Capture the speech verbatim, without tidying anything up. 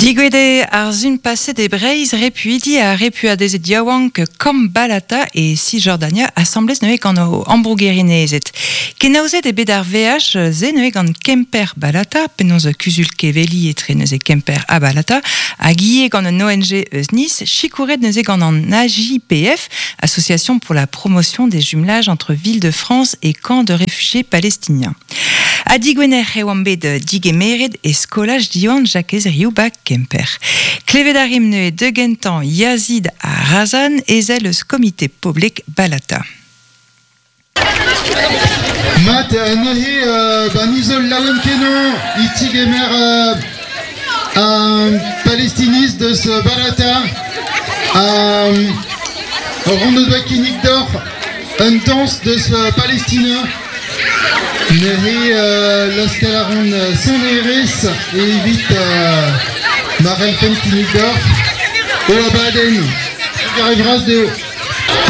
Digwede ar zun paset e Breiz repuidi a repuadezet yaouank kamp Balata e Cisjordania asamblez neuze gant o ambrougerinezet. Kenaozet e bet ar V H ze neuze gant Kemper Balata, penaos kuzul keveli etre neuze Kemper ha Balata, hag ie gant un O N G eus Nice, chikouret neuze gant an A J P F, Association pour la promotion des jumelages entre villes de France et camps de réfugiés palestiniens. Ha digwener e oan bet digemeret e skolaj Diwan Jakez Riou ba Kemper. Klevet a rim neuze de gentan Yazid ha Razan ezel eus komite poblek Balata. Mat, neuze, euh, ba nizol laouen kenañ e tigemer, euh, un palestiniste deus Balata, euh, ronde doa kinnig d'or, un danse deus Palestina. Neuze, euh, loskel a ran sonerez e evit, euh, Marel Pen kinnig d'or, o abadenn. Trugarez vras dezho.